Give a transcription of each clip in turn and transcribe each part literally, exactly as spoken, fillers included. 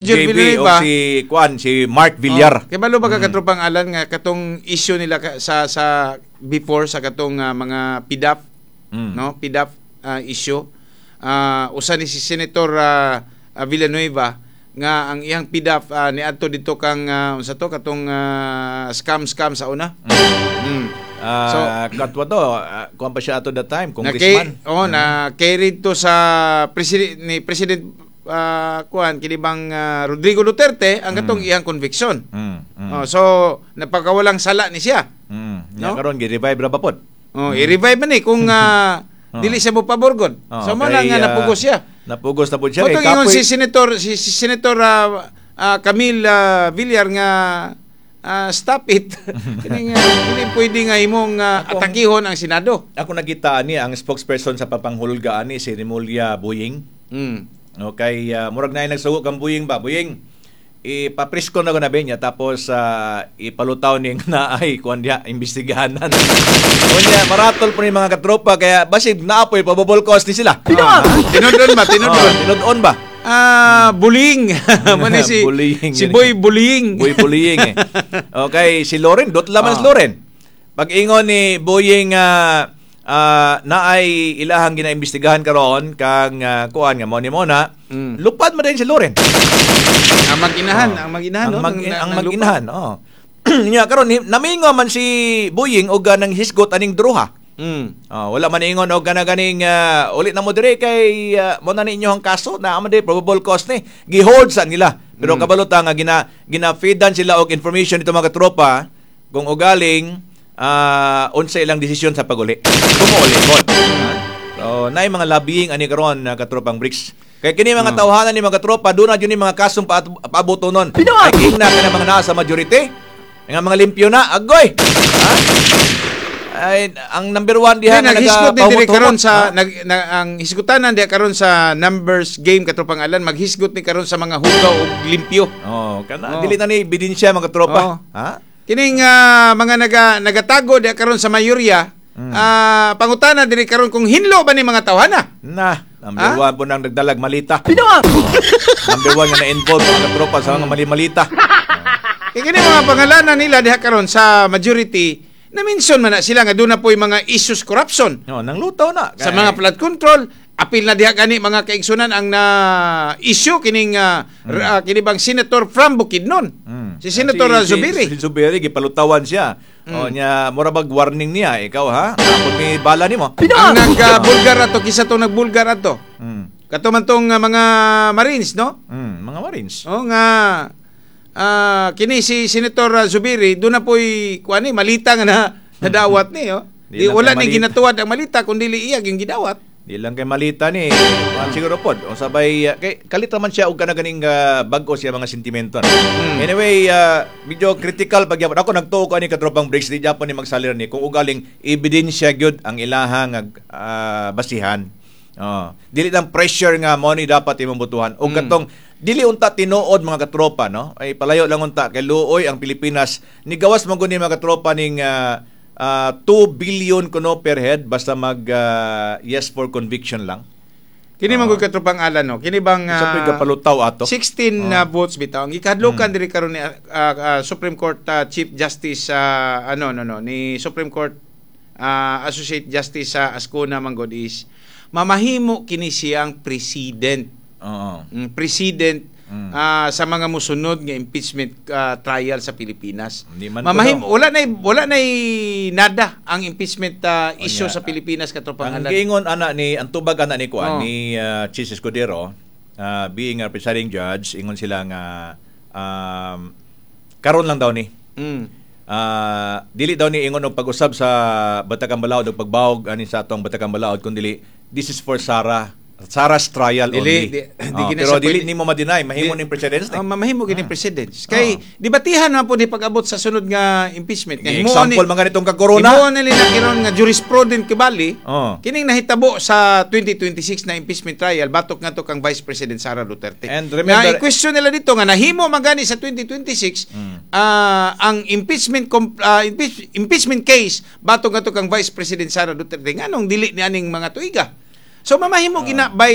Roger J B o Villanueva. Si Kuan, si Mark Villar. Oh, kabalo ba ka, katropang Alan, nga katong issue nila ka- sa sa before sa katong ah, mga P D A F, Mm. no, P D A F ah, issue, Ah, usa ni si Senator ah, ah, Villanueva nga ang iyang P D A F ah, niadto dito kang uh, unsa to, katong ah, scam scam sa una. Mm. Ah, katwa to, ah, kuan pa siya ato that time, Na congressman. kay, oh, na carried to sa president ni President ah, kuan kini bang ah, Rodrigo Duterte ang katong iyang conviction. Mm. Mm. Oh, so napakawalang sala ni siya. Mm. No? Nya karon gi-revive ra ba pod? Oh, i-revive man ni kung ah, Oh. dili siya mo pabor gud. Oh, So mo lang kay, nga ah, napugos siya. Napugos na pud siya. Mao Kay tong ingon kapoy- si Senator si, si Senator ah, ah, Camille ah, Villar nga ah, stop it. Kini nga kini pwede nga imong ah, Akong- atakihon ang Senado. Ako nakita ani ang spokesperson sa papanghulga ani, si Remulla Buying. Mm. Okay, uh, murag na nagsugo kang Buying ba? Buying, ipapresko na ko na niya tapos ah, ipalutaw ning naay kuan diha imbestigahanan. Unya maratol po ni mga katropa kaya basig naapoy probable cause ni sila. Ah, tinudon ba? Tinudon. Oh, tinud-on ba? Ah, bullying. Mao ni si Bullying si yun. Boy Bullying. Boy Bullying eh. Okay, si Loren, dot laman si Ah. Loren. Pag ingon ni Boying ah ah, naay ilahang ginaimbestigahan karon kang ah, kuan nga mo ni Mona, Mm. lupad man din si Loren. Ang mag-inahan, Oh. ang mag-inahan, ang no? mag, Nang- ang nang lupa. mag-inahan, oh. Nya karon namingo man si Boying og ah, nang hisgot aning druha. Mm. Oh, wala man ingon og kana ganing ah, uli na mo dire kay uh, mo na ninyo ang kaso na man dire probable cause ni. Gihold sa nila. Pero Mm. kabalo ta nga gina gina-feedan sila og information dito, mga katropa, kung ugaling ah, unsa ilang desisyon sa paguli. Kung mo. So, naay mga lobbying ani karon na katropang Bricks. Kay kini mga Mm. tawhanan ni mga katropa, doon na jud ni mga kasong paat- paabot nun. Ay ingna kana mga naa sa majority. Nga mga limpyo na, agoy. Ha? Ay, ang number one diha Di, nga naghisgot ni diri nagapahumot-humot. karon sa Ha? nag, na, ang hisgutanan diha karon sa numbers game, katropang Alan, maghisgot ni karon sa mga hugaw og limpyo. Oh, kana Oh. dili na ni ebidensya, mga tropa. Oh. Ha? Kining ah, mga naga nagatago diha karon sa mayorya, Mm. ah, pangutana diri karon kung hinlo ba ni mga tawhana. Na, number Ha? one po nang nagdalag malita. Number one nga na-involve mga tropa sa mga mali-malita. Kay kini mga pangalanan nila diha karon sa majority, na mention man na sila nga doon na po'y mga issues corruption. No, nang lutaw na. Sa mga flood control, apil na diha gani, mga kaigsunan, ang na issue kining ah, r- ah, kini bang senator from Bukidnon. Mm. Si Senator Si, Zubiri. Si, si Zubiri gipalutawan siya. Mm. O nya mura bag warning niya, ikaw ha. Apod mi bala nimo. Ang nagbulgar ato, kisa tong nagbulgar ato. Mm. Kato man tong ah, mga Marines, no? Mm, mga Marines. O nga ah, kini si Senator ah, Zubiri doon na po'y kuan ni malita nga na nadawat ni, oh. Di Di, lang wala kay ni malita. ginatuwad ang malita kun dili iya yung gidawat. Di lang kay malita ni. Kuan siguro pod. O sabay uh, kay kalit man siya og kana ganing uh, bag-o siya mga sentimento. No? Mm. Anyway, uh, medyo critical pag gyapon. Ako nagtuo ko ani katropang Bricks, di gyapon ni magsalir ni kung ugaling ebidensya gyud ang ilahang uh, basihan. Oh, dili lang pressure nga mo ni dapat imong butuhan. Og Mm. katong dili unta tinuod, mga katropa, no? Ay palayo lang unta kay luoy ang Pilipinas. Nigawas man gud ni mga katropa ning ah, ah, two billion kuno per head basta mag ah, yes for conviction lang. Kini man gud, katropang Alan, no. Kini bang Sa ah, uh, kapalutaw ato. sixteen na votes bitaw. Ang gikadlukan diri karon ni ah, ah, Supreme Court ah, Chief Justice ah, ano no no ni Supreme Court ah, Associate Justice sa Azcuna manggod is mamahimo kini siyang president. Oo. Mm, president Mm. ah, sa mga musunod nga impeachment ah, trial sa Pilipinas. Hindi man Mamahimo kuno. wala na wala na nada ang impeachment ah, issue Onya, sa Pilipinas, katropang Ang Alan. giingon ana ni ang tubag ana ni kuan Oh. ni uh, Chis Escudero, ah, being a presiding judge, ingon sila nga um, karon lang daw ni. Mm. Ah, dili daw ni ingon og pag-usab sa Batakang Balaod og pagbawog ani sa atong Batakang Balaod kun dili this is for Sara Sara's trial Dili, only. di- di Oh, gina pero siya dili pwede- nimo ma-deny mahimo Di- ning precedence ni. Oh, mamahimo gini precedence. Kay debatihan man po ni pag-abot sa sunod nga impeachment. Nga himuon Example ni- mga nitong ka-corona. Himuon nila na kiron nga jurisprudent kibali. Oh. Kining nahitabo sa twenty twenty-six na impeachment trial batok ngadto kang Vice President Sara Duterte. And remember- nga i-question nila dito nga nahimo man gani sa twenty twenty-six Mm. ah, ang impeachment com- ah, impeach- impeachment case batok ngadto kang Vice President Sara Duterte, nganong dili ni aning mga tuiga? So mamahimo gina by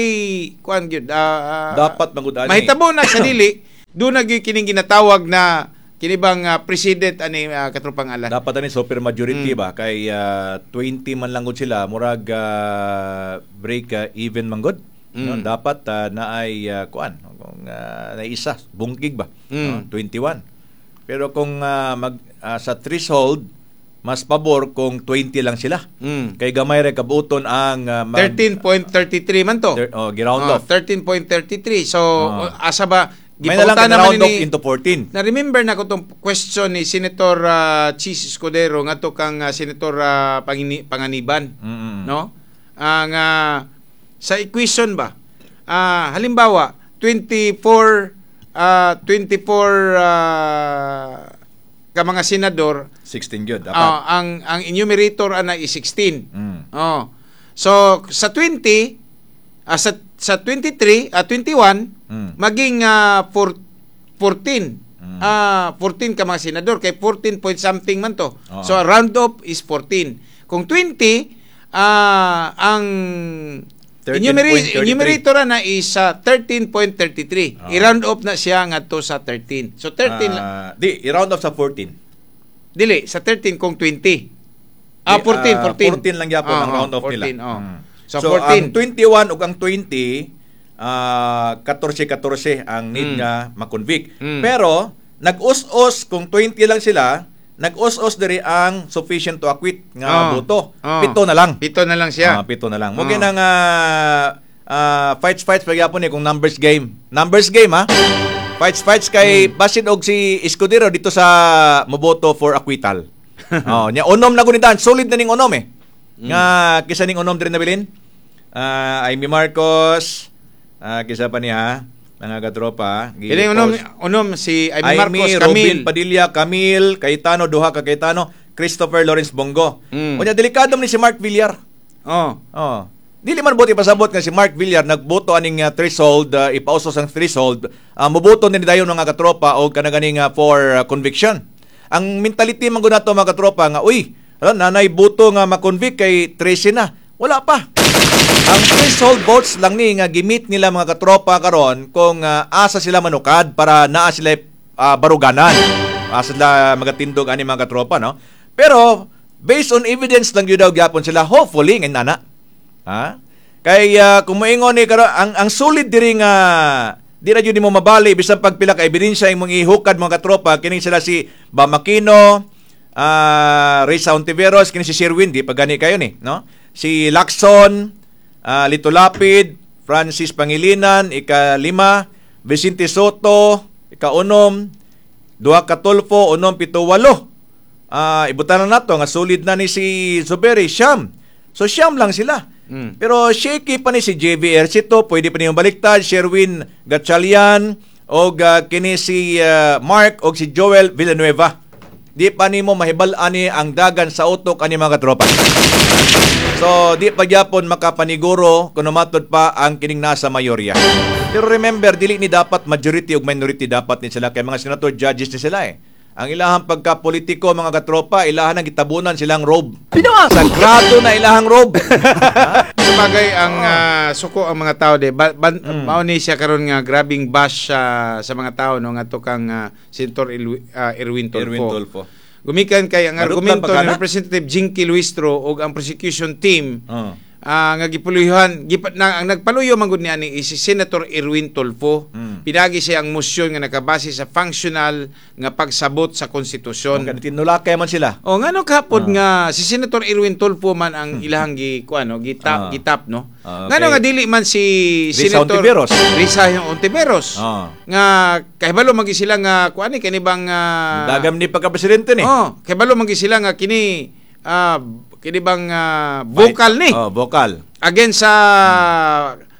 kuan gyud ah, Dapat man gud ani. mahitabo na sa dili. Doon na gyud kining ginatawag na kini bang ah, president ani, uh, katropang Alan. Dapat ani super majority Mm. ba kay ah, twenty man lang gud sila, murag ah, break ah, even man gud. No, Mm. dapat uh, naay uh, kuan kung uh, naisa bungkig ba, Mm. no, twenty-one. Pero kung ah, mag ah, sa threshold, mas pabor kung twenty lang sila. Mm. Kay gamay ra kabuton ang ah, mag- thirteen point three three man to. Thir- oh, gi-round Oh, off. thirteen point three three. So Oh. asa ba May na lang gipangutana man round off ni- into fourteen. Na-remember na ko tong question ni Senator uh, Chiz Escudero ngadto kang ah, Senator ah, Pangini- Panganiban, Mm-mm. no? Ang ah, sa equation ba? Ah, halimbawa twenty-four ah, twenty-four ah, ka mga senador, sixteen gyud dapat. ah, ang ang enumerator ana is sixteen. Mm. Oh. So sa twenty, ah, sa sa twenty-three, ah, twenty-one Mm. maging ah, four- fourteen. Mm. Ah, fourteen ka mga senador kay fourteen point something man to. Oo. So round off is fourteen. Kung twenty, ah ang thirteen point three three. enumerator, enumerator na is ah, thirteen point three three. Oo. I-round off na siya ngadto sa thirteen. So thirteen lang. Ah, di i-round off sa fourteen. Dili sa thirteen kung twenty. Ah, Di, fourteen, ah, fourteen. fourteen lang gyapon ang Oo, round off nila. fourteen, oh. Mm. So, So, fourteen. ang twenty-one ug ang twenty, ah fourteen fourteen ang need Mm. nga ma-convict. Mm. Pero nag-us-us kung twenty lang sila, nag-us-us diri ang sufficient to acquit nga Oh. boto. Oh. Pito na lang. Pito na lang siya. Ah, pito na lang. Mo Oh. nang ah, ah, fights fights pagyapon ni kung numbers game. Numbers game ha. Fights fights kay Hmm. basin og si Escudero dito sa moboto for acquittal. Oh, nya unom na gunitan, solid na ning unom eh. Hmm. Nga kisa ning unom diri nabilin. Ah, Amy Marcos, ah, kisa pa niya mga katropa. Kining unom unom si Amy Amy, Marcos, Robin Camille. Padilla, Camille, Cayetano, duha ka Cayetano, Christopher Lawrence Bongo. Mm. Unya delikado man ni si Mark Villar. Oh. Oh. Dili man buti pasabot nga si Mark Villar nagboto aning uh, threshold, uh, ipausos ang threshold, uh, moboto ni dayon mga katropa og kanaganing uh, for uh, conviction. Ang mentality man gud nato mga katropa nga uy, ano, nanay boto nga ma-convict kay thirteen na. Wala pa. Ang threshold votes lang ni nga gimit nila mga katropa karon kung uh, asa sila manukad para naa sila uh, baruganan. Asa sila magatindog ani mga katropa, no? Pero based on evidence lang yun daw gyapon sila, hopefully ngayon nana. Ha? Kay uh, kung moingon ni karon ang ang solid diri nga di ra jud nimo mabali bisan pag pila ka ebidensya imong ihukad mga katropa, kining sila si Bam Aquino, ah Risa Ontiveros, kini si Sherwin, di pa gani kayo ni, no? Si Lacson, ah, Lito Lapid, Francis Pangilinan, ika-lima, Vicente Sotto, ika-unom, duha ka Tulfo, unom, pito, walo. Ah, ibutan na nato nga solid na ni si Zuberi, siyam. So siyam lang sila. Mm. Pero shaky pa ni si J V Ejercito, pwede pa niyong baliktad, Sherwin Gatchalian, o kini si ah, Mark o si Joel Villanueva. Di pa nimo mahibal-an ni ang dagan sa utok ani mga katropa. So, di pa gyapon makapaniguro kung matod pa ang kining nasa mayorya. Pero remember, dili ni dapat majority ug minority, dapat ni sila kay mga senator judges ni sila eh. Ang ilahang pagkapolitiko mga katropa, ilahan ang gitabunan silang robe. Sagrado na ilahang robe. Sabagay ang ah, suko ang mga tao de ba, ban, Mm. mao ni siya karon nga grabing bash ah, sa mga tao no ngadto kang ah, Senator Ilwi- ah, Erwin Tulfo. Erwin Tulfo. Gumikan kay ang Marutlan argumento pa kana? ni Representative Jinky Luistro ug ang prosecution team Oh. ah, nga gipuluyuhan gipa, na, ang nagpaluyo man gud ni ani is si Senator Erwin Tulfo. Mm. Pinagi siya ang motion nga nakabase sa functional nga pagsabot sa konstitusyon. Ang tinulakay man sila. O ngano kapod Ah. nga si Senator Erwin Tulfo man ang ilahang gi kuano gitap Ah. gitap no. Ah, okay. Ngano nga dili man si Risa Senator Hontiveros. Risa Hontiveros. Ah. Nga kahibalo man gi sila nga kuani kani bang ah, Dagam ni pagka-presidente ni. Oh, kahibalo man gi sila nga kini ah, kini bang ah, vocal ni Oh, vocal. against sa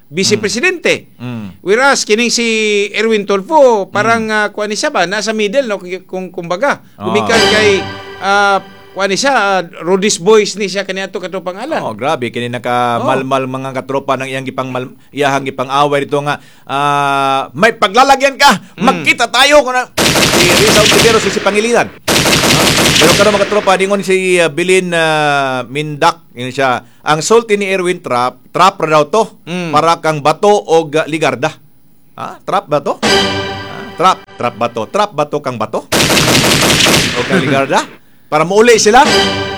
vice presidente. Mm. Whereas kining si Erwin Tulfo parang mm. kuan ni siya ba nasa middle no kung kumbaga Ah. gumikan kay uh, kuan ni siya uh, Rodis Boys ni siya kaniadto kato pangalan. Oh, grabe kini naka malmal mga katropa ng iyang gipang mal, iyahang gipang-away dito nga ah, may paglalagyan ka, magkita tayo kun si Risa Ontiveros si Pangilinan. Ah, pero karon mga katropa dingon si uh, Bilin ah, Mindak yun siya. Ang sulti ni Erwin, trap, trap ra daw to Mm. para kang bato og ah, ligarda. Ah, trap ba to? Ah, trap. Trap Bato. Trap Bato kang Bato? O kang Legarda? Para muuli sila?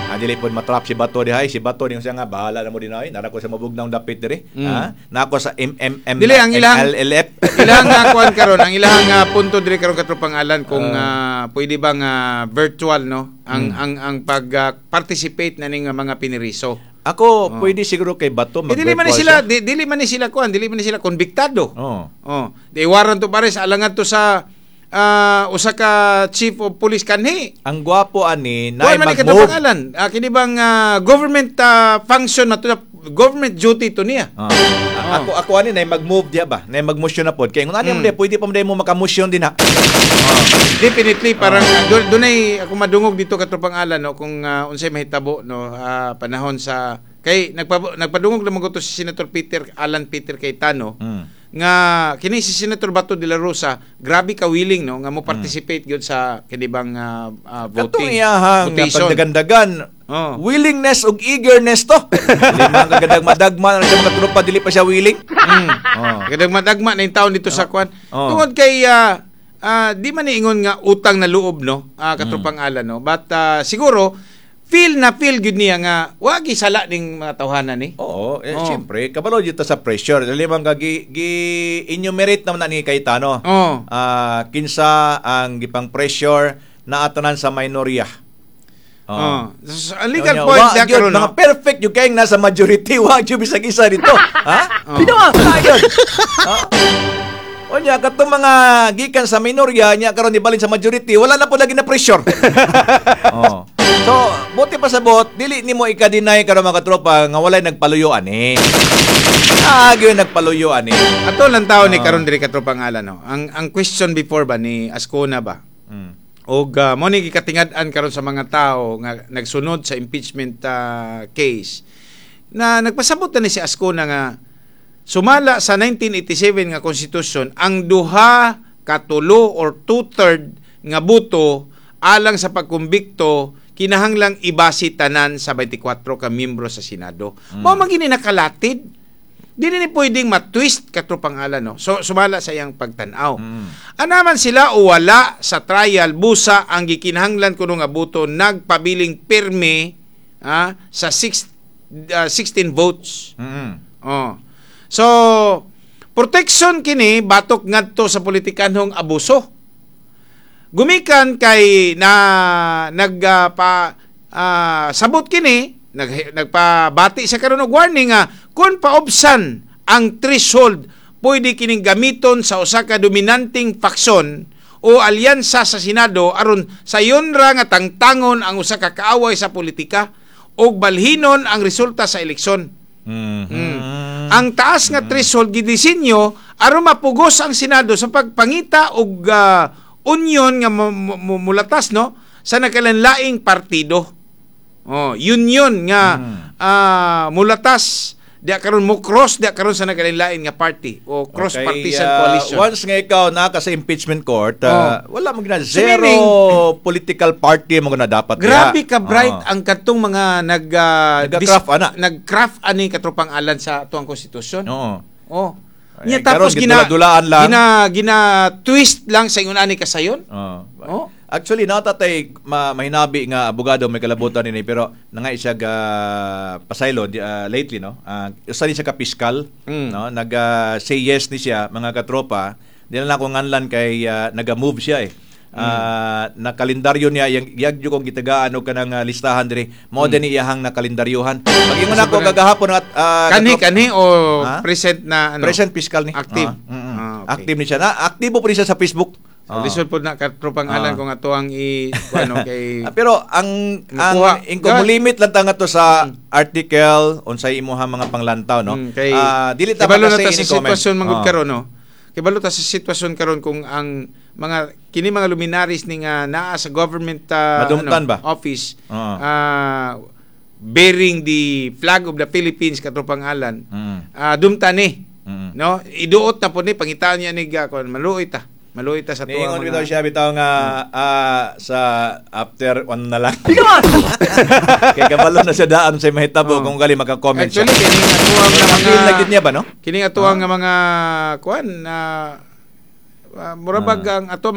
Ah, dili pod matrap si Bato dihay. Si Bato niyo siya nga bahala na mo din ay. Nara ko sa mabugnaw dapit diri. Mm. Ha? Nako sa M M M Dili, ang ilang- L L F. Ilang nga kuan karon, ang ilang nga punto diri karon, katropang Alan, kung ah, pwede ba nga virtual, no, ang Mm. ang ang pag ah, participate na ning mga piniriso. Ako, pwede siguro kay Bato Eh, dili man ni mag-virtual sila siya. di, dili man ni sila kuan, dili man ni sila konbiktado. Oh. Oh, di warrant to arrest alangan to sa ah, usa ka chief of police kanhi. Ang gwapo ani na Kuan man ni mag-move. katropang Alan, ah, kini bang ah, government ah, function na to, government duty to niya. Ah. Ako ako ani na mag-move diya ba? Na mag-motion na pod. Kay kung ani Mm. mo di pwede pa mo mo maka-motion din ha. Definitely parang uh, doon dunay ako madungog dito, katropang Alan, no, kung ah, unsay mahitabo, no, ah, panahon sa kay nagpa, nagpadungog naman ko to si Senator Peter Alan Peter Cayetano Mm. nga kini si Senator Bato de la Rosa grabe ka willing, no, nga mo participate gyud sa kini bang ah, ah, Katong voting iyahang nga votation. pagdagandagan, Oh. willingness ug eagerness to. Dili man kagadagma madagma na siya mga tropa, dili pa siya willing. Mm. Oh. Kadagma-dagma na yung taon dito sa kwan. Oh. Tungod kay ah, ah, di man niingon nga utang na loob, no, ah, katropang Alan, no. But ah, siguro feel na feel gyud niya nga wagi sala ning mga tawhana ni. Oo, eh, Oh. siyempre, kabalo dito sa pressure. Dili man ka gi, gi enumerate naman na ni Cayetano. Oh. Ah, kinsa ang gipang pressure na atanan sa minorya. Oh. So, ang legal Unya, point wa niya gyud, karon, no. mga perfect yung kayong nasa majority, wa gyud bisag isa dito. Ha? Oh. Pinawa yun. Ha? Unya katong mga gikan sa minorya nya karon ibalin sa majority, wala na po lagi na pressure. Oh. So, buti pa sa bot, dili nimo ika-deny karon, mga katropa, nga walay nagpaluyo ani. Ah, gyud nagpaluyo ani. Ato lang tao ni Ah. karon diri, katropang Alan, no. Ang ang question before ba ni Azcuna ba? Mm. Og uh, mo ni gikatingad-an karon sa mga tao nga nagsunod sa impeachment ah, case na nagpasabot na ni si Azcuna nga sumala sa nineteen eighty-seven nga konstitusyon, ang duha katulo or two-third nga boto alang sa pagkumbikto kinahanglang ibasi tanan sa twenty-four ka miyembro sa Senado. Mm. Mao man gini nakalatid. Di ni pwedeng ma-twist, katropang Alan, no. So sumala sa iyang pagtan-aw. Mm. Anaman sila o wala sa trial, busa ang gikinahanglan kuno nga boto nagpabiling pirme ah, sa six, ah, sixteen votes. Mm. Oh. So, protection kini batok ngadto sa politikanhong abuso. Gumikan kay na nagpa ah, sabot kini, nag, nagpabati sa karon og warning nga kung paobsan ang threshold, pwede kining gamiton sa usa ka dominanteng faksyon o alyansa sa Senado aron sayon ra nga tangtangon ang usa ka kaaway sa politika ug balhinon ang resulta sa eleksyon. Mm. Mm. Ang taas nga threshold gidisenyo aron mapugos ang Senado sa pagpangita og ah, union nga mu- mu- mulatas, no, sa nakalanlaing partido. Oh, union nga Mm. ah, mulatas diya karon, mo cross diya karon sa nakalanlain nga party o cross partisan Okay, ah, coalition. Once nga ikaw naa ka sa impeachment court, ah, wala mo gina So, zero meaning- political party mo na dapat Grabe diha. ka bright Oo. ang katong mga nag ah, Nagka-craft ana. Nag-craft ani, katropang Alan, sa tuang konstitusyon. Oo. Oh. Ay, Nya tapos karon, gina gidula-dulaan lang. Gina gina twist lang sa ingon ani kasayon. Oo. Oh. Actually, natatay ma mahinabi nga abogado may kalabutan nini, pero nangay siya ga pasaylo di- ah, lately, no. Uh, usa ni siya ka piskal, Mm. no, nag ah, say yes ni siya, mga katropa. Di na lang ako nganlan kay ah, naga-move siya eh. Ah, na kalendaryo niya yang yagyo kong gitagaan og kanang ah, listahan diri mao mm. din iyahang na kalendaryuhan pag-ingon ako Sobrang- kagahapon at ah, Kanhi katrop- kanhi o Ha? present na ano? Present fiscal ni. Active. Ah, mm, mm. Ah, okay. Active ni siya na aktibo po ni siya sa Facebook. So, lisod po na, katropang Ah. Alan, kung ato ang i ano kay Ah, pero ang ang Nakuha. ingko mo limit lang ta nga to sa article unsay imuha mga panglantaw, no. Mm, kay Ah, dili ta kibalo na makasay ta sa ini comment. sitwasyon manggod Ah. karon, no. Kibalo ta sa sitwasyon karon kung ang mga kini mga luminaries ni nga naa sa government ah, Madumtan ano, ba? office Ah. ah, bearing the flag of the Philippines, katropang Alan, Mm. ah, dumtan ni, Mm. no, iduot na po ni pangitaan niya ni ga kon maluoy ta maluoy ta sa tuwa Niingon mga bitaw siya bitaw nga ah, sa after one na lang. Kay kabalo na siya daan sa mahitabo Oh. kung gali maka-comment siya. Actually, kining atuang nga mga Feel na gid niya ba, no? kining atuang nga mga kuan na uh, mura bag ang ato mga